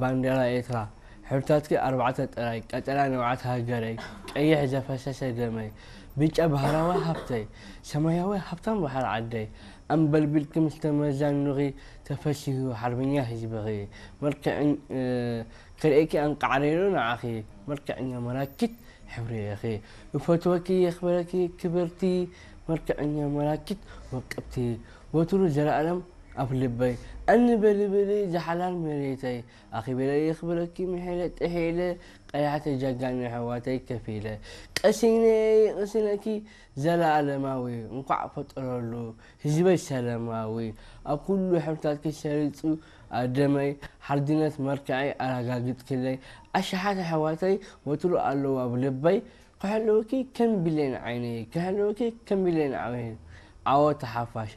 ባንዴራ ኤርትራ ሕብርታትኪ ኣርባዕተ ጥራይ፣ ቀጠልያ ንብዓት ሃገረይ፣ ቀይሕ ዘፈሰሰ ደመይ፣ ብጫ ባህላዊ ሃብተይ፣ ሰማያዊ ሃብታም ባሕሪ ዓደይ፣ ኣንበልቢልኪ ምስ ተመዛኑኺ ተፈሲሁ ሓርበኛ ህዝብኺ፣ መልክዕን ክርእኪ ኣንቃዕሪሩ ንዓኺ፣ መልክዕኛ መላኪት ሕብሪ ኢኺ። እፈትወኪ የኽብረኪ ክብርቲ፣ መልክዕኛ መላኪት ወቅብቲ፣ ወትሩ ዘለኣለም ኣብ ልበይ። ኣንበልብሊ ዝሓላል መሬተይ፣ ኣኺበለ የኽብረኪ ምሒለ ጥሒለ፣ ቀያሕቲ ጀጋኑ ኣሕዋተይ ከፊለ። ቀሲነ ይቕስነኪ ዘለኣለማዊ፣ እንኳዕ ፈጠረሉ ህዝበይ ሰላማዊ። ኣብ ኩሉ ሕብርታትኪ ሰሪጹ ኣደመይ፣ ሓርድነት መልክዐይ ኣረጋግጽክለይ። ኣሽሓት ኣሕዋተይ ወትሩ ኣለዉ ኣብ ልበይ፣ ክሕልወኪ ከም ብሌን ዓይነይ፣ ክሕልወኪ ከም ብሌን ዓይነይ። ዓወት ሓፋሽ።